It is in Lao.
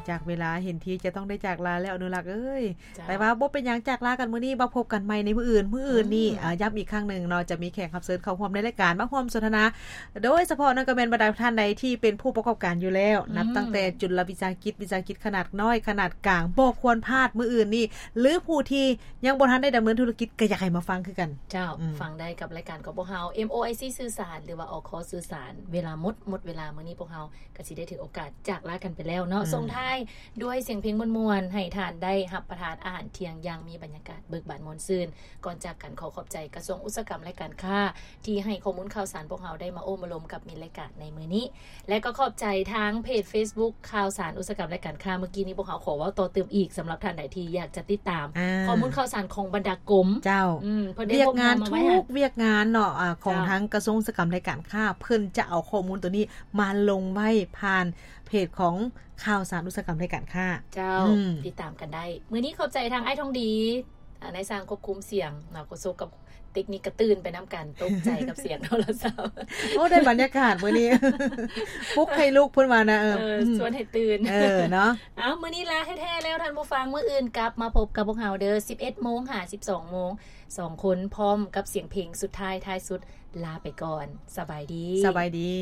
ຈາກເວລາເຫັນທີຈະຕ້ອງໄດ້ຈາກລາແລ້ວ ອະນຸລັກເອີຍ. ເຈົ້າ. ແຕ່ວ່າບໍ່ເປັນຫຍັງ, ຈາກລາກັນມື້ນີ້ ມາພົບກັນໃໝ່ໃນມື້ອື່ນ. ມື້ອື່ນນີ້ ອືມ ອາ ຢ້ຳອີກຄັ້ງໜຶ່ງເນາະ, ຈະມີແຂກຮັບເຊີນເຂົ້າຮ່ວມໃນລາຍການ ມາຮ່ວມສົນທະນາ ໂດຍສະເພາະນັ້ນກໍແມ່ນບັນດາທ່ານໃດທີ່ເປັນຜູ້ປະກອບການຢູ່ແລ້ວ, ອືມ ນັບຕັ້ງແຕ່ຈຸລະວິສາຫະກິດ, ວິສາຫະກິດຂະໜາດນ້ອຍ, ຂະໜາດກາງ, ບໍ່ຄວນພາດມື້ອື່ນນີ້ ຫຼື ຜູ້ທີ່ຍັງບໍ່ທັນໄດ້ດຳເນີນທຸລະກິດ ກໍຢາກໃຫ້ມາຟັງຄືກັນ. ເຈົ້າ. ອືມ ຟັງໄດ້ກັບລາຍການຂອງພວກເຮົາ ເອັມໂອໄອຊີ ສື່ສານ ຫຼືວ່າ ອອກຄອ ສື່ສານ. ເວລາໝົດ, ໝົດເວລາມື້ນີ້ ພວກເຮົາກໍຊິໄດ້ຖືໂອກາດຈາກລາກັນໄປແລ້ວເນາະ. ອືມ ສົ່ງທ້າຍດ້ວຍສຽງເພງມ່ວນໆ ໃຫ້ທ່ານໄດ້ຮັບປະທານອາຫານທ່ຽງຢ່າງມີບັນຍາກາດເບີກບານມ່ວນຊື່ນ. ກ່ອນຈາກກັນ ຂໍຂອບໃຈກະຊວງອຸດສາຫະກຳ ແລະ ການຄ້າ ທີ່ໃຫ້ຂໍ້ມູນຂ່າວສານພວກເຮົາໄດ້ມາໂອ້ມາລົມກັບມິດລາຍການໃນມື້ນີ້ ແລະ ກໍຂອບໃຈທາງເພຈເຟສບຸກ ຂ່າວສານອຸດສາຫະກຳ ແລະ ການຄ້າ. ເມື່ອກີ້ນີ້ພວກເຮົາຂໍເວົ້າຕໍ່ຕື່ມອີກ ສຳລັບທ່ານໃດທີ່ຢາກຈະຕິດຕາມ ອາ ຂໍ້ມູນຂ່າວສານຂອງບັນດາກົມ. ເຈົ້າ. ອືມ ເພິ່ນໄດ້ ວຽກງານ ພວກເຮົາມາໄວ້ໃຫ້ ທຸກວຽກງານເນາະ ອາ ຂອງ ເຈົ້າ ທາງກະຊວງອຸດສາຫະກຳ ແລະ ການຄ້າ ເພິ່ນຈະເອົາຂໍ້ມູນໂຕນີ້ມາລົງໄວ້ຜ່ານເພຈຂອງຂ່າວສານອຸດສາຫະກຳ ແລະ ການຄ້າ. ເຈົ້າ. ອືມ ຕິດຕາມກັນໄດ້. ມື້ນີ້ຂອບໃຈທາງອ້າຍທອງດີ ອາ ນາຍຊ່າງຄວບຄຸມສຽງເນາະ, ໂຄສົກກັບເຕັກນິກກະຕື່ນໄປນຳກັນ, ຕົກໃຈກັບສຽງໂທລະສັບ. ໂອ້ ໄດ້ບັນຍາກາດມື້ນີ້ ປຸກໃຫ້ລຸກເພິ່ນວ່ານະ. ເອີ ເອີ ອືມ ຊວນໃຫ້ຕື່ນ. ເອີ ເນາະ. ເອົາ ມື້ນີ້ລາແທ້ໆແລ້ວທ່ານຜູ້ຟັງ, ມື້ອື່ນກັບມາພົບກັບພວກເຮົາເດີ ສິບເອັດໂມງຫາສິບສອງໂມງ ສອງຄົນ ພ້ອມກັບສຽງເພງສຸດທ້າຍ ທ້າຍສຸດ. ລາໄປກ່ອນ. ສະບາຍດີ. ສະບາຍດີ.